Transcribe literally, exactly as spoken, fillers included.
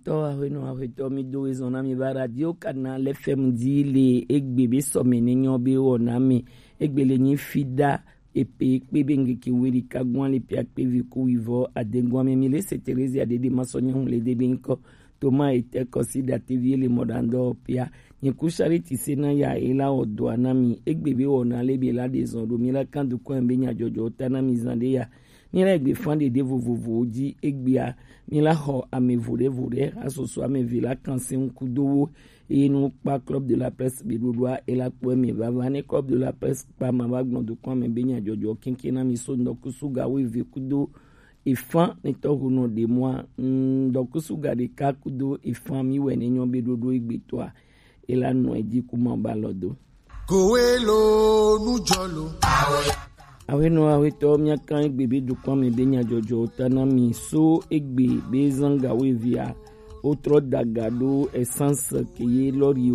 Tɔ ahwenɔ ahwetɔ, mi do ezɔn na mi va Radio Canal F M di le egbe be sɔme ne nyɔ be wɔ na mi. Egbe le nyi fi da epe kpe be ngeke weli ka gwan le pia kpe vi ku wivɔ adengwan mi mi le se Terezia dede ma sɔ nyɔnu le de be nkɔ. Toma ete kɔsi da tevi le mɔ dan dɔ pia. Nye ku Charity se na ya e la wɔ dɔ na mi. Egbe be wɔ na le be la de zɔn do mi la kan du kɔn be nya jɔjɔ ta na mi zan de ya. Mi la egbe fan de de vovovowo ji egbea. Mi la xɔ ame vo ɖe vo ɖe, asoso ame ve la kan se ŋku do wo. Eye nu kpa Club de la Presse be ɖoɖoa e la kpɔ eme vava ne Club de la Presse kpa ma va gblɔ do kɔn ame be nya jɔjɔ kenken na mi so ŋdɔkusu ga wo eve kudo efan ne tɔho nɔ ɖe mɔa. Ŋdɔkusu ga ɖeka kudo efan mi wɛ ne nyɔ be ɖoɖo egbetɔa e la nɔ edzi kuma ba lɔ do. Kowe lo nujɔ lo. Awenɔ awetɔ miakan egbe be dukɔn me be nyadzɔdzɔ ta na mi so egbe be zanga wo evia. Wotrɔ daga ɖo essence ke ye lɔri